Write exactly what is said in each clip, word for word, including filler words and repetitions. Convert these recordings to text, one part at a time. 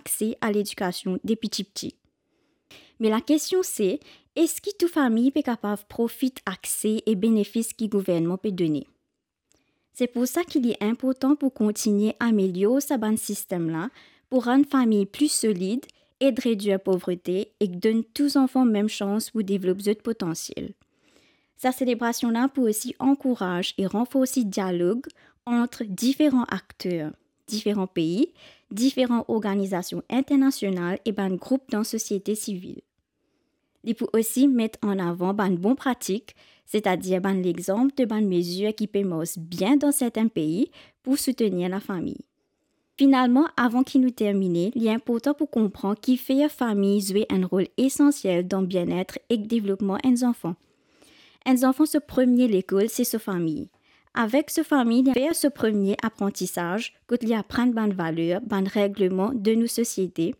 akse a ledikasion depi tipti. Me lakestion se, eski tou fami pe kapav profit akse e benefis ki gouvernman pe done? Se pou sa ki li inportan pou kontigne amelior sa bann sistem la, pou rann fami pli solid, ed redwir povrete ek donn tou zanfan mem sans pou devlop zot potansiel. Sa selebrasion la pou osi ankouraz e ranforsi dialog ant diferan akter, diferan pei, diferan organizasion internasional e bann group dan sosiete sivil. Li pou osi met an avan bann bon pratik, setadir bann lexanp de bann mezir ki pe mars bien dan sertin pei pou soutenir lafami. Finalman, avan ki nou termine, li inportan pou konpran kifer fami zwe enn rol esansiel dan bienet ek devlopman enn zanfan. Enn zanfan so premie lekol se so fami. Avek so fami, li fer so premie aprantisaz, kot li aprann bann valer, bann regleman de nou sosiete,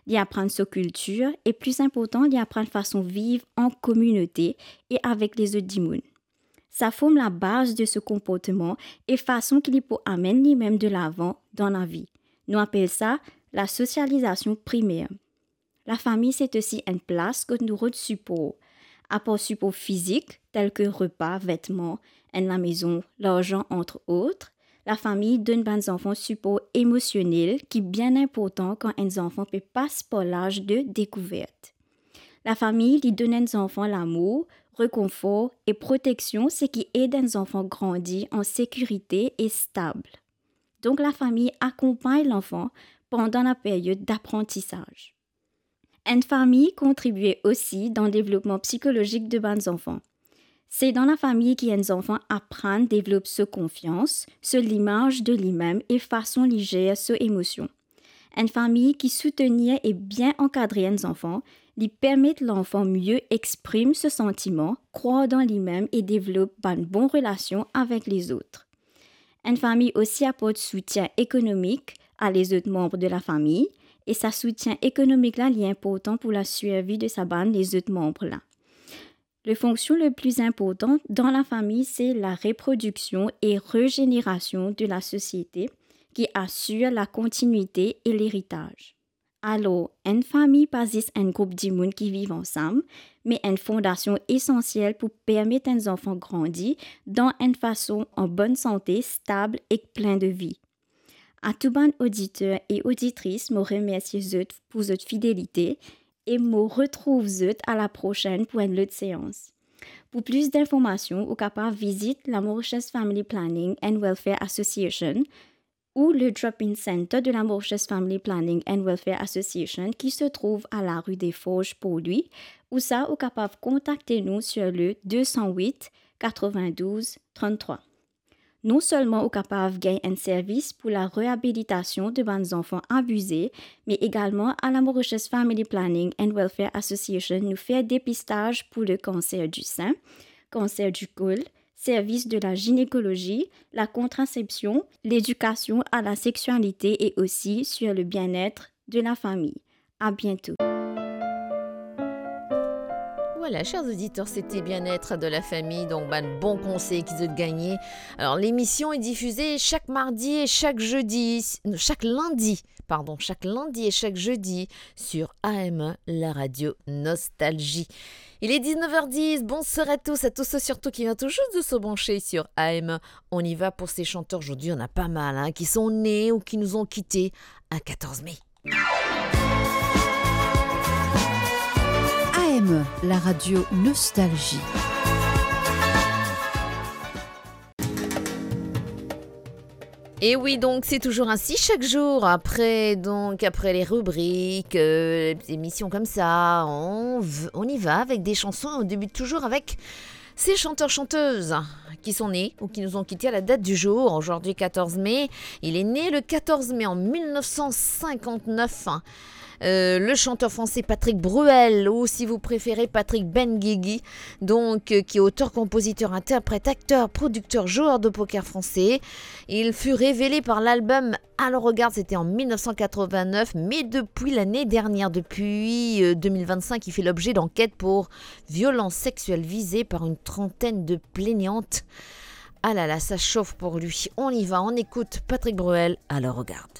li aprann so kiltir e, pli inportan, li aprann fason viv an kominote e avek lezot dimoun. Sa form labaz de so konportman e fason ki li pou amenn limem de lavan dan lavi. Nou apel sa lasosializasion primer. Lafami, se osi enn plas kot nou rod sipor, apar sipor fizik, tel ki repa, vetman, enn lamezon, larzan, antre ot. Lafami donn bann zanfan sipor emosionel ki bien inportan kan enn zanfan pe pas par laz de dekouvert. Lafami, li donn enn zanfan lamour, rekonfor e proteksion, seki ed enn zanfan grandi an sekirite e stab. Donk, lafami akonpagn lanfan pandan laperyod daprantisaz. Enn fami kontribie osi dan devlopman psikolozik de bann zanfan. Se dan lafami ki enn zanfan aprann devlop so konfians, so limaz de limem e fason li zer so emosion. Enn fami ki soutenir e bien ankadre enn zanfan, li permet lanfan mie exprim so santiman, krwar dan limem e devlop bann bon relasion avek lezot. Enn fami osi aport soutien ekonomik a lezot manb de lafami, e sa soutien ekonomik la, li inportan pou lasurvi de sa bann lezot manb la. Le fonksion le pli inportan dan lafami, se lareprodiksion e rezenerasion de lasosiete ki asir lakontinite e leritaz. Alor, enn fami pa zis enn group dimoun ki viv ansam, me enn fondasion esansiel pou permet enn zanfan grandi dan enn fason an bonn sante, stab ek plin de vi. A tou bann oditer e oditris, mo remersie zot pou zot fidelite e mo retrouv zot a laprosenn pou enn lot seans. Pou plis dinformasion, ou kapav vizit la Mauritius Family Planning and Welfare Association ou le Drop-in Center de la Mauritius Family Planning and Welfare Association ki se trouv a la rue des Forges, Port-Louis, ou sa ou kapav kontakte nou sur le deux cent huit quatre-vingt-douze trente-trois. Non selman ou kapav gagn enn servis pou la reabilitasion de bann zanfan abize, me egalman a la Mauritius Family Planning and Welfare Association, nou fer depistaz pou le kanser di sin, kanser di kol, servis de la zinekolozi, la kontrasepsion, ledikasion a la seksualite e osi sur le bien-être de la fami. A biento. Voilà, chers auditeurs, c'était Bien-être de la famille, donc bann bon konsey ki zot gagne. Alors, l'émission est diffusée chaque mardi et chaque jeudi, chaque lundi, pardon, chaque lundi et chaque jeudi sur A M E, la radio Nostalgie. Il est dix-neuf heures dix. Bonsoir à tous, à tous ceux surtout qui viennent tout juste de se brancher sur A M E. On y va pour ces chanteurs. Aujourd'hui, on a pas mal, hein, qui sont nés ou qui nous ont quittés un quatorze mai. A M E, la radio Nostalgie. Et oui, donc c'est toujours ainsi chaque jour. Après, donc, après les rubriques, euh, les émissions comme ça, on v-, on y va avec des chansons. On débute toujours avec ces chanteurs-chanteuses qui sont nés ou qui nous ont quittés à la date du jour. Aujourd'hui, quatorze mai, il est né le quatorze mai en mille neuf cent cinquante-neuf. Euh, le chanteur français Patrick Bruel, ou si vous préférez Patrick Benguigui, donc, euh, qui est auteur, compositeur, interprète, acteur, producteur, joueur de poker français. Il fut révélé par l'album Alors Regarde, c'était en mille neuf cent quatre-vingt-neuf, mais depuis l'année dernière, depuis, euh, deux mille vingt-cinq, il fait l'objet d'enquêtes pour violence sexuelle visée par une trentaine de plaignantes. Ah là là, ça chauffe pour lui. On y va, on écoute Patrick Bruel, Alors Regarde.